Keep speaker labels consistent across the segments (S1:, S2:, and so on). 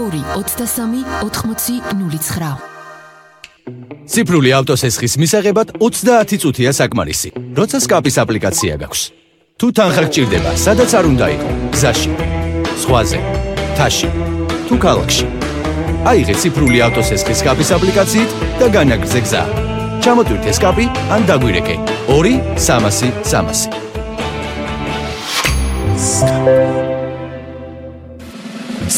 S1: 2-23-80-09.
S2: ციფრული ავტოსესხის მისაღებად 30 წუთია საკმარისი, როცა სკაპის აპლიკაცია გაქვს. თუ თანხა გჭირდება, სადაც არ უნდა იყო, გზაში, ზღვაზე, მთაში, თუ ქალაქში. აიღე ციფრული ავტოსესხის სკაპის აპლიკაციით და განაგრძე გზა. ჩამოტვირთე სკაპი ან დაგვირეკე 2-300-300.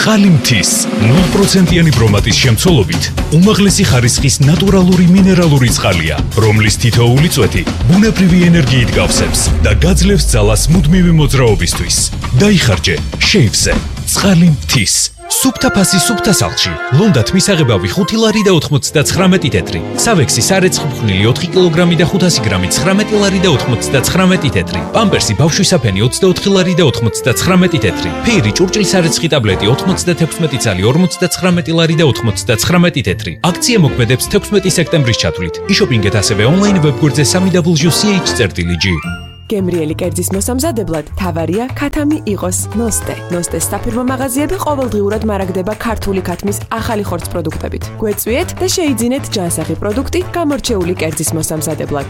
S3: ცხალი მთის 0%-იანი ბრომატის შემცველობით უმაღლესი ხარისხის ნატურალური მინერალური წყალია, რომლის თითოეული წვეთი ბუნებრივი ენერგიით გავსებს და გაძლევს ძალას მუდმივი მოძრაობისთვის. დაიხარჯე შეივზე ცხალი მთის. სუფთა ფასი სუფთა სახლში. ლონდათ მისაღებავი 5 ლარი და 99 თეთრი. სავექსი სარეცხმხვნილი 4 კილოგრამი და 500 გრამი 19 ლარი და 99 თეთრი. პამპერსი ბავშვისაფენი 24 ლარი და 99 თეთრი. ფეირი ჭურჭლის სარეცხი ტაბლეტი 96 წალი 59 ლარი და 99 თეთრი. აქცია მოქმედებს 16 სექტემბრის ჩათვლით. იშოპინგეთ ასევე ონლაინ ვებგვერდზე www.ch.gr.
S4: გემრიელი კერძის მოსამზადებლად თავარია ქათამი იყოს ნოსტე. ნოსტეს საფირმო მაღაზიები ყოველდღიურად მარაგდება ქართული ქათმის ახალი ხორცს პროდუქტებით. გვეწვიეთ და შეიძინეთ ჯანსაღი პროდუქტი გამორჩეული კერძის მოსამზადებლად.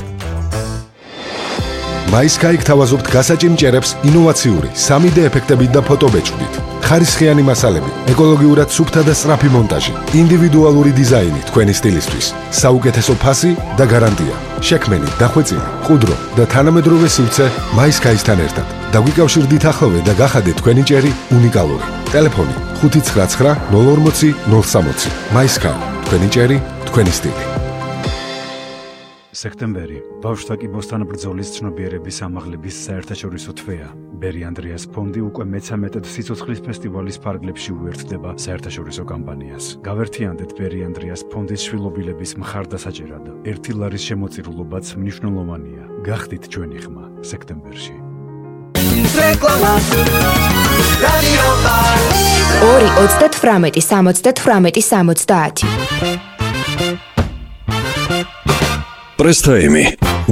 S5: MySky გთავაზობთ გასაჭიმჭერებს ინოვაციური 3D ეფექტებით და ფოტობეჭდით. ხარისხიანი მასალები, ეკოლოგიურად სუფთა და სწრაფი მონტაჟი, ინდივიდუალური დიზაინი თქვენი სტილისთვის, საუკეთესო ფასი და გარანტია. შექმენი, დახვეწილი, ყუდრო და თანამედროვე სივრცე MySky-სთან ერთად. დაგვიკავშირდით ახლოვე და გახადეთ თქვენი ჭერი უნიკალური. ტელეფონი 599 040 060. MySky, თქვენი ჭერი, თქვენი სტილი.
S6: სექტემბერი ბავშვთა კიბოსთან ბრძოლის ცნობიერების ამაღლების საერთაშორისო თვეა. ბერი ანდრიას ფონდი უკვე მე-13 სიცოცხლის ფესტივალის ფარგლებში უერთდება საერთაშორისო კამპანიას. გავერთიანდეთ ბერი ანდრიას ფონდის შვილობილების მხარდასაჭერად. 1 ლარის შემოწირულობაც მნიშვნელოვანია. გახდით ჩვენი ხმა სექტემბერში.
S1: 2-28-70-70.
S7: პრესთაიმი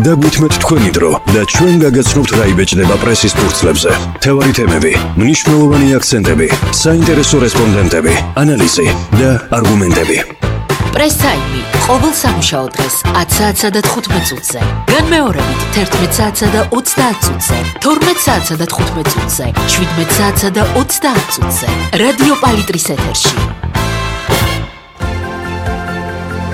S7: დაგვითმეთ თქვენი დრო და ჩვენ გაგაცნობთ რა იბეჭდება პრესის ფურცლებზე. თევარი თემები, მნიშვნელოვანი აქცენტები, საინტერესო რესპონდენტები, ანალიზი და არგუმენტები.
S1: პრესთაიმი ყოველ სამუშაო დღეს 10 საათსა და 15 წუთზე. განმეორებით 11 საათსა და 30 წუთზე, 12 საათსა და 15 წუთზე, 17 საათსა და 30 წუთზე. რადიო პალიტრის ეთერში.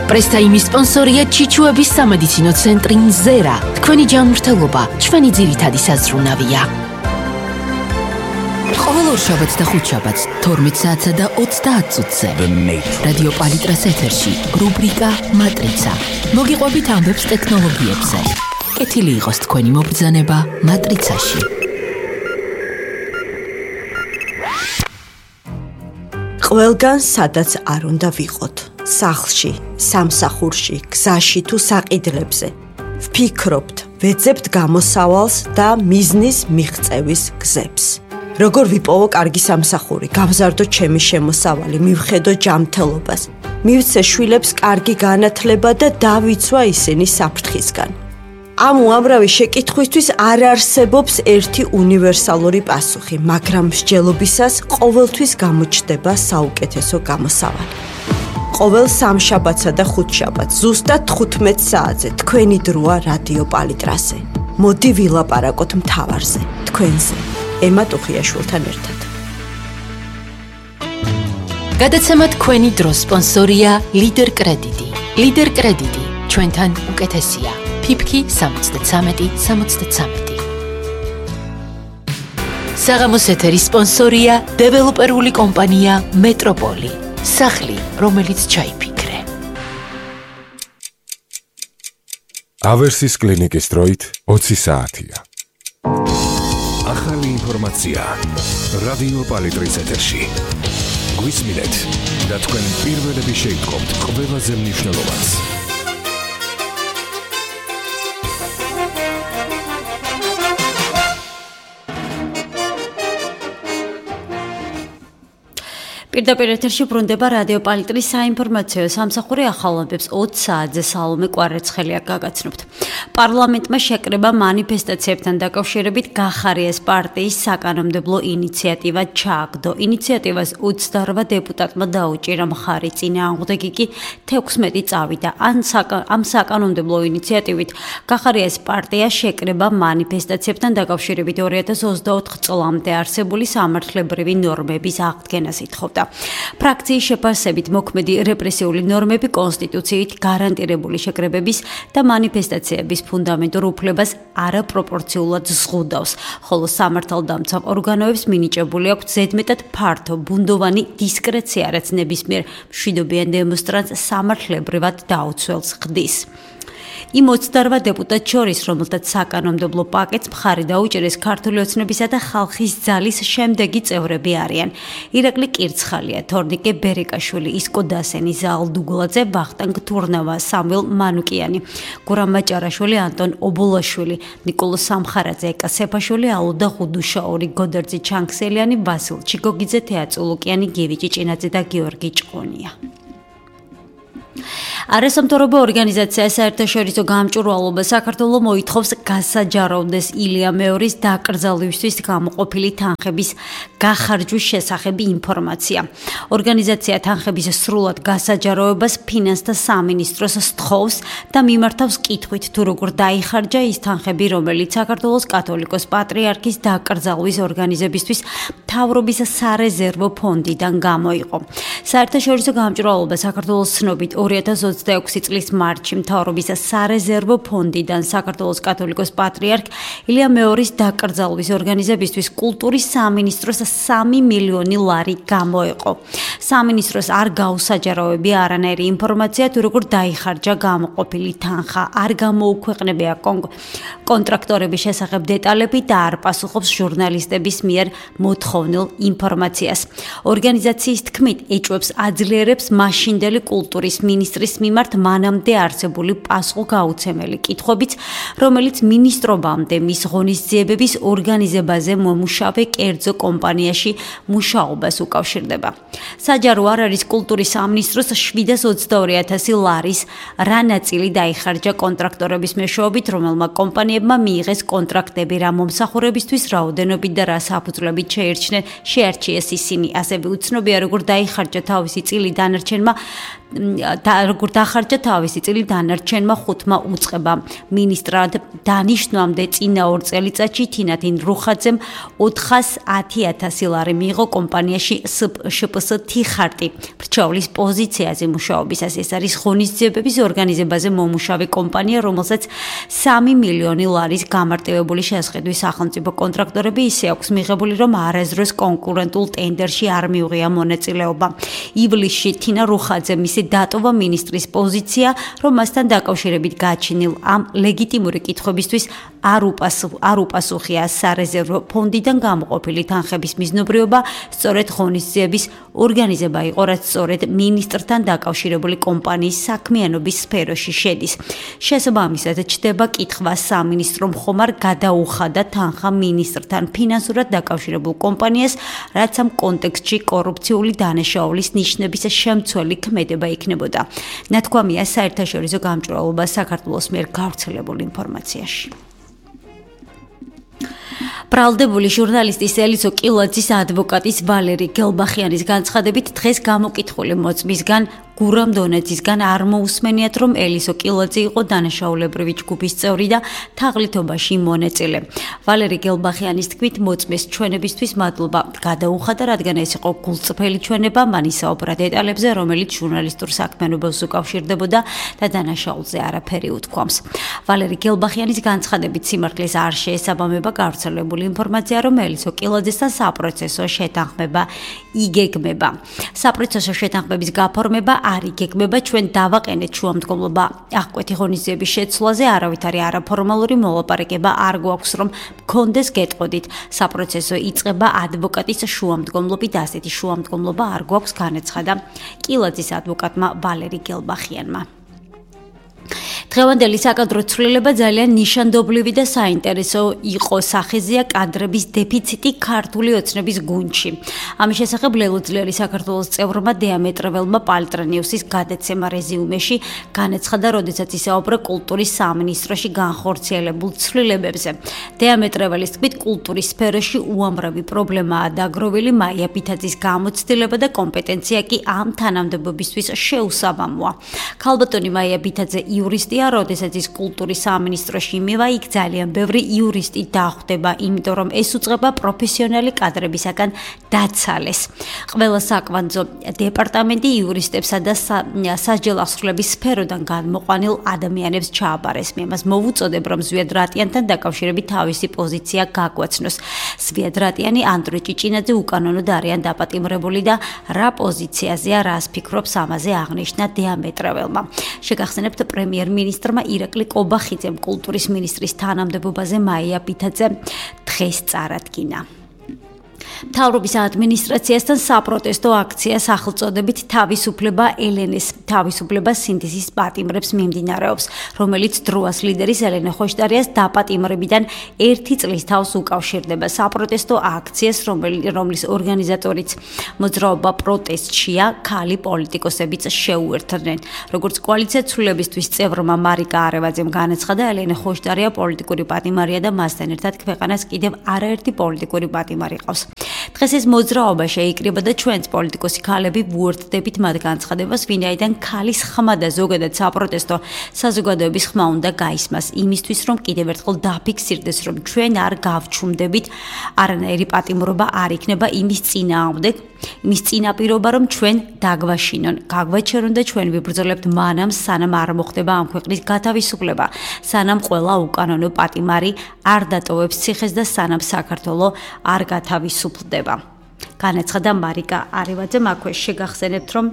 S1: პრესთაიმის სპონსორია ჩიჩუების სამედიცინო ცენტრი ნზერა. თქვენი ჯანმრთელობა ჩვენი ძირითადი საზრუნავია. ყოველ ორშაბათს და ხუთშაბათს 12 საათსა და 30 წუთზე. რადიო პალიტრას ეთერში რუბრიკა მატრიცა. მოგიყვებით ამბებს ტექნოლოგიებზე. კეთილი იყოს თქვენი მობრძანება მატრიცაში.
S8: ყველგან სადაც არ უნდა ვიყოთ. სახლში, სამსახურში, გზაში თუ საყიდლებზე. ვფიქრობთ, ვეძებთ გამოსავალს და მიზნის მიღწევის გზებს. როგორ ვიპოვო კარგი სამსახური, გავზარდო ჩემი შემოსავალი, მივხედო ჯანმრთელობას, მივცე შვილებს კარგი განათლება და დავიცვა ისინი საფრთხისგან. ამ უამრავი შეკითხვისთვის არ არსებობს ერთი უნივერსალური პასუხი, მაგრამ მსჯელობისას ყოველთვის გამოჩნდება საუკეთესო გამოსავალი. ყოველ სამშაბათსა და ხუთშაბათს ზუსტად 15 საათზე თქვენი დროა რადიო პალიტრაზე. მოდი ვილაპარაკოთ მთავარზე, თქვენზე, ემა ტუხიაშვილთან ერთად.
S1: გადაცემა თქვენი დროს სპონსორია ლიდერ კრედიტი. ლიდერ კრედიტი ჩვენთან უკეთესია. ფიფკი 73-73. საღამოს ეთერის სპონსორია დეველოპერული კომპანია მეტროპოლი. სახლი, რომელიც ჩაიფიქრე.
S5: ავერსის კლინიკის დროით 20 საათია.
S7: ახალი ინფორმაცია რადიო პალიტრის ეთერში. გვისმინეთ და თქვენ პირველები შეიტყობთ ყველაზე მნიშვნელოვანს.
S9: პირდაპირ ეთერში ბრუნდება რადიო პალიტრის საინფორმაციო სამსახური ახალამბებს 20 საათზე სალომე კვარაცხელია გაგაცნობთ. პარლამენტმა შეკრება მანიფესტაციებთან დაკავშირებით გახარიეს პარტიის საკანონმდებლო ინიციატივა ჩააგდო. ინიციატივას 28 დეპუტატმა დაუჭირა მხარი, წინააღმდეგი კი 16 წავიდა. ამ საკანონმდებლო ინიციატივით გახარიეს პარტია შეკრება მანიფესტაციებთან დაკავშირებით 2024 წლამდე არსებული სამართლებრივი ნორმების აღდგენას ითხოვდა. ფრაქციის შეფასებით მოქმედი რეპრესიული ნორმები კონსტიტუციით გარანტირებული შეკრებების და მანიფესტაციების ფუნდამენტურ უფლებას არაპროპორციულად ზღუდავს, ხოლო სამართალდამცავ ორგანოებს მინიჭებული აქვს ზედმეტად ფართო ბუნდოვანი დისკრეცია, რაც ნებისმიერ მშვიდობიან დემონსტრანტს სამართლებრივად დაუცველს ხდის. იმ 28 დეპუტატს შორის, რომელთაც საკანონმდებლო პაკეტს მხარი დაუჭერეს, ქართული ოცნებისა და ხალხის ძალის შემდეგი წევრები არიან: ირაკლი კირცხალია, თორნიკე ბერეკაშვილი, ისკო დასენი, ზაალ დუგლაძე, ვახტანგ თურნავა, სამველ მანუკიანი, გურამ მაჭარაშვილი, ანტონ ობოლაშვილი, ნიკოლო სამხარაძე, ეკა სეფაშვილი, ალოდა ხუდუშაური, გოდერძი ჩანქსელიანი, ვასილ ჩიგოგიძე, თეაწულუკიანი, გივი ჭიჭინაძე და გიორგი ჭყონია. არასამთავრობო ორგანიზაცია საერთაშორისო გამჭვირვალობა საქართველოს მოითხოვს გასაჯაროვდეს ილია მეორის დაკრძალვისთვის გამოყოფილი თანხების გახარჯვის შესახებ ინფორმაცია. ორგანიზაცია თანხების სრულად გასაჯაროვებას ფინანსთა სამინისტროს სთხოვს და მიმართავს კითხვით, თუ როგორ დაიხარჯა ის თანხები, რომელიც საქართველოს კათოლიკოს პატრიარქის დაკრძალვის ორგანიზებისთვის მთავრობის სარეზერვო ფონდიდან გამოიყო. საერთაშორისო გამჭვირვალობა საქართველოს ცნობით 2026 წლის მარტში მთავრობის სარეზერვო ფონდიდან საქართველოს კათოლიკოს პატრიარქ ილია მეორის დაკრძალვის ორგანიზებისთვის კულტურის სამინისტროს 3 მილიონი ლარი გამოეყო. სამინისტროს არ გაუსაჯაროვებია არანაირი ინფორმაცია, თუ როგორ დაიხარჯა გამოყოფილი თანხა, არ გამოუქვეყნებია კონტრაქტორების შესახებ დეტალები და არ პასუხობს ჟურნალისტების მიერ მოთხოვნილ ინფორმაციას. ორგანიზაციის თქმით, ეჭვებს აძლიერებს მაშინდელი კულტურის მინისტრის მიმართ მანამდე არსებული პასუხგაუცემელი კითხვებიც, რომელიც მინისტრობამდე მის ღონისძიებების ორგანიზებაზე მომუშავე კერძო კომპანიაში მუშაობას უკავშირდება. საჯარო არ არის კულტურის სამინისტროს 722,000 ლარის რა ნაწილი დაიხარჯა კონტრაქტორების მეშვეობით, რომელმა კომპანიებმა მიიღეს კონტრაქტები რა მომსახურებისთვის, რაოდენობით და რა საფუძვლებით შეარჩიეს ისინი. ასევე უცნობია, როგორ დაიხარჯა თავისი წილი დანარჩენმა ხუთმა უწყებამ. მინისტრად დანიშნვამდე წინა 2 წელიწადში თინათინ რუხაძემ 410,000 ლარი მიიღო კომპანიაში შპს თიხარტი ბრჩევლის პოზიციაზე მუშაობისას. ეს არის ღონისძიებების ორგანიზებაზე მომუშავე კომპანია, რომელსაც 3 მილიონი ლარის გამარტივებული შესყიდვის სახელმწიფო კონტრაქტორები ისე აქვს მიღებული, რომ არასდროს კონკურენტულ ტენდერში არ მიუღია მონაწილეობა. ივლისში თინა რუხაძე დატოვა მინისტრის პოზიცია, რომ მასთან დაკავშირებით გაჩენილ ამ ლეგიტიმური კითხვებისთვის არ უპასუხია სარეზერვო ფონდიდან გამოყოფილი თანხების მიზნობრიობა, სწორედ ღონისძიების ორგანიზება იყო, რაც სწორედ მინისტრთან დაკავშირებული კომპანიის საქმიანობის სფეროში შედის. შესაბამისად, ჩდება კითხვა სამინისტრომ ხომ არ გადაუხადა თანხა მინისტრთან ფინანსურად დაკავშირებულ კომპანიას, რაც ამ კონტექსტში კორუფციული დანაშაულის ნიშნების შემცველი ქმედება იქნებოდა. ნათქვამია საერთაშორისო გამჭვირვალობა საქართველოს მიერ გავრცელებულ ინფორმაციაში. ბრალდებული ჟურნალისტის ელისო კილაძის ადვოკატის ვალერი გელბახიანის განცხადებით, დღეს გამოკითხული მოწმისგან გურამ დონეცისგან არ მოусმენიათ, რომ ელისო კილაძე იყო დანაშაულებრივი ჯგუფის წევრი და თაღლითობაში მონაწილე. ვალერი გელბახიანის თქმით, მოწმეს ჩვენებისთვის მადლობა გადაუხადა, რადგან ეს იყო გულწრფელი ჩვენება, მან ისაუბრა დეტალებზე, რომელიც ჟურნალისტურ საქმიანობას უკავშირდებოდა და დანაშაულზე არაფერი უთქვამს. ვალერი გელბახიანის განცხადებით, სიმართლეს არ შეესაბამება გავრცელებული ინფორმაცია, რომ ელისო კილაძესთან საპროცესო შეთანხმება იგეგმება. საპროცესო შეთანხმების გაფორმება არ იგეგმება, ჩვენ დავაყენეთ შუამდგომლობა აღკვეთი ღონისძიების შეცვლაზე, არავითარი არაფორმალური მოლაპარაკება არ გვაქვს, რომ მქონდეს გეტყოდით. საპროცესო იწყება ადვოკატის შუამდგომლობით, ასეთი შუამდგომლობა არ გვაქვს, განაცხადა კილაძის ადვოკატმა ვალერი გელბახიანმა. დღევანდელი საკადრო ცვლილება ძალიან ნიშანდობლივი და საინტერესო იყო. სახეზეა კადრების დეფიციტი ქართული ოცნების გუნდში. ამის შესახებ ლელუძლიერი საქართველოს წევრმა დიამეტრეველმა პალტრანიუსის გადაცემა რეზიუმეში განაცხადა, როდესაც ისაუბრა კულტურის სამინისტროში განხორციელებულ ცვლილებებზე. დიამეტრეველის თქმით, კულტურის სფეროში უამრავი პრობლემაა დაგროვილი, მაია ბითაძის გამოცდილება და კომპეტენცია კი ამ თანამდებობისთვის შეუსაბამოა. ქალბატონი მაია ბითაძე იურისტია, როდესაც ის კულტურის სამინისტროში იმევა, იქ ძალიან ბევრი იურისტი დახვდება, იმიტომ რომ ეს უწყება პროფესიონალი კადრებისაგან დაცალეს. ყველა საკვანძო დეპარტამენტი იურისტებსა და სასჯელ აღსრულების სფეროდან განმოყვანილ ადამიანებს ჩააბარეს. მე მას მოვუწოდებ, რომ ზვიად რატიანთან დაკავშირებით თავისი პოზიცია გაგვაცნოს. ზვიად რატიანი, ანდრე ჭიჭინაძე უკანონოდ არიან დაპატიმრებული და რა პოზიციაზეა, რას ფიქრობს ამაზე აღნიშნა დიამეტრეველმა. შეგახსენებთ, პრემიერ-მინისტრმა ირაკლი კობახიძემ კულტურის მინისტრის თანამდებობაზე მაია ბითაძე დღეს წარადგინა. მთავრობის ადმინისტრაციასთან საპროტესტო აქცია სახელწოდებით თავისუფლება ელენეს, თავისუფლება სინთეზის პატიმრებს მიმდინარეობს, რომელიც დროას ლიდერის ელენე ხოშტარიას დაპატიმრებიდან 1 წლის თავს უკავშირდება. საპროტესტო აქციას, რომლის ორგანიზატორიც მოძრაობა პროტესტშია, ქალი პოლიტიკოსებიც შეუერთდნენ. როგორც კოალიცია ცვლილებისთვის წევრმა მარიკა არევაძემ განაცხადა, ელენე ხოშტარია პოლიტიკური პატიმარია და მასთან ერთად ქვეყანას კიდევ არაერთი პოლიტიკური პატიმარი ყავს. დღეს ეს მოძრაობა შეიკრიბა და ჩვენც პოლიტიკოსი ქალები ვუერთდებით მათ განცხადებას, ვინაიდან ქალის ხმა და ზოგადად საპროტესტო საზოგადოების ხმა უნდა გაისმას იმისთვის, რომ კიდევ ერთხელ დაფიქსირდეს, რომ ჩვენ არ გავჩუმდებით, არანაირი პატიმრობა არ იქნება იმის წინააღმდეგ, იმის წინაპირობა, რომ ჩვენ დაგვაშინონ, გაგვაჩერონ და ჩვენ ვიბრძოლებთ მანამ, სანამ არ მოხდება ამ ქვეყნის გათავისუფლება, სანამ ყველა უკანონო პატიმარი არ დატოვებს ციხეს და სანამ საქართველო არ გათავისუფლდება. განაცხადა მარიკა არევაძემ. აქვე შეგახსენებთ, რომ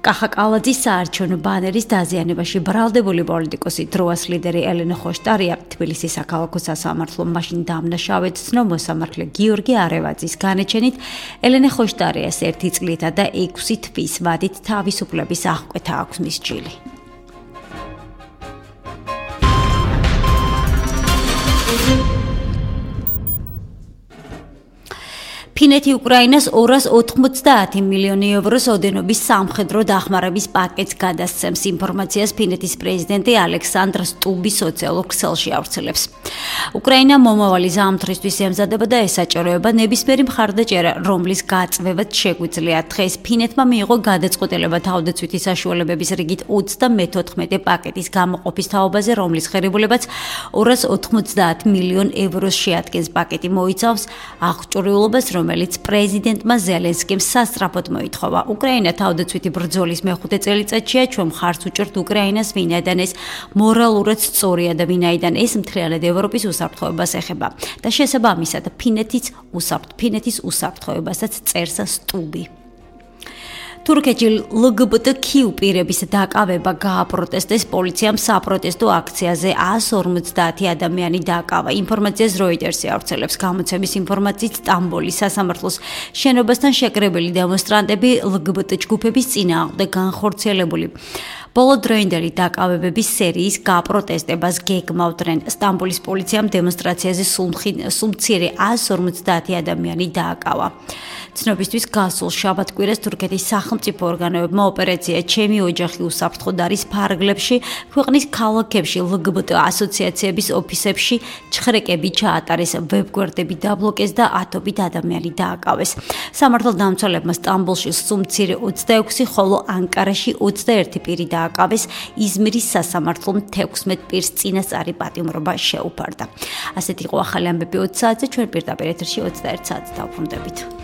S9: კახა კალაძის საარჩევნო ბანერის დაზიანებაში ბრალდებული პოლიტიკოსი დროას ლიდერი ელენე ხოშტარია თბილისის საქალაქო სასამართლომ მაშინ დამნაშავედ ცნო მოსამართლე გიორგი არევაძის განაჩენით ელენე ხოშტარიას 1 წლითა და 6 თვის ვადით თავისუფლების აღკვეთა აქვს მის ჯილი. ფინეთი უკრაინას 290 მილიონი ევროს ოდენობის სამხედრო დახმარების პაკეტს გადასცემს. ინფორმაციას ფინეთის პრეზიდენტი ალექსანდრ სტუბი სოციალურ ქსელში ავრცელებს. უკრაინა მომავალი ზამთრისთვის ემზადება და ესაჭიროება ნებისმიერი მხარდაჭერა, რომლის გაწვევაც შეგვიძლია. დღეს ფინეთმა მიიღო გადაწყვეტილება თავდაცვითი საშუალებების რიგით 34 პაკეტის გამოყოფის თაობაზე, რომლის ღირებულებაც 290 მილიონ ევროს შეადგენს. პაკეტი მოიცავს აღჭურვილობას, რომელიც პრეზიდენტმა ზელენსკიმ სასწრაფოდ მოითხოვა. უკრაინა თავდაცვითი ბრძოლის მეხუთე წელიწადშია, ჩვენ მხარს უჭერთ უკრაინას, ვინაიდან ეს მორალურად სწორია და ვინაიდან ეს მთლიანად ევროპის უსაფრთხოებას ეხება და შესაბამისად ფინეთის უსაფრთხოებასაც წერს სტუბი. თურქეთში LGBTQ პირების დაკავება გააპროტესტეს პოლიციამ საპროტესტო აქციაზე 150 ადამიანი დაკავა. ინფორმაციას Reuters-ი ავრცელებს. გამოცემის ინფორმაციით სტამბოლის სასამართლოს შენობასთან შეკრებილი დემონსტრანტები LGBT ჯგუფების წინააღმდეგ განხორციელებული ბოლოდროინდელი დაკავებების სერიის გაპროტესტებას გეგმავდნენ. სტამბოლის პოლიციამ დემონსტრაციაზე სულ მცირე 150 ადამიანი დააკავა. ცნობისთვის გასულ შაბათ-კვირას თურქეთის სახელმწიფო ორგანოებმა ოპერაცია ჩემი ოჯახი უსაფრთხოდ არის ფარგლებში ქვეყნის ქალაქებში LGBT ასოციაციების ოფისებში ჩხრეკები ჩაატარეს, ვებგვერდები დაბლოკეს და ათობით ადამიანი დააკავეს. სამართალდამცველებმა სტამბოლში სულ მცირე 26, ხოლო ანკარაში 21 პირი დააკავეს. იზმირის სასამართლომ 16 პირს წინასწარი პატიმრობა შეუფარდა. ასეთი იყო ახალი ამბები 20 საათზე, ჩვენ პირდაპირ ეთერში 21 საათს დავბრუნდებით.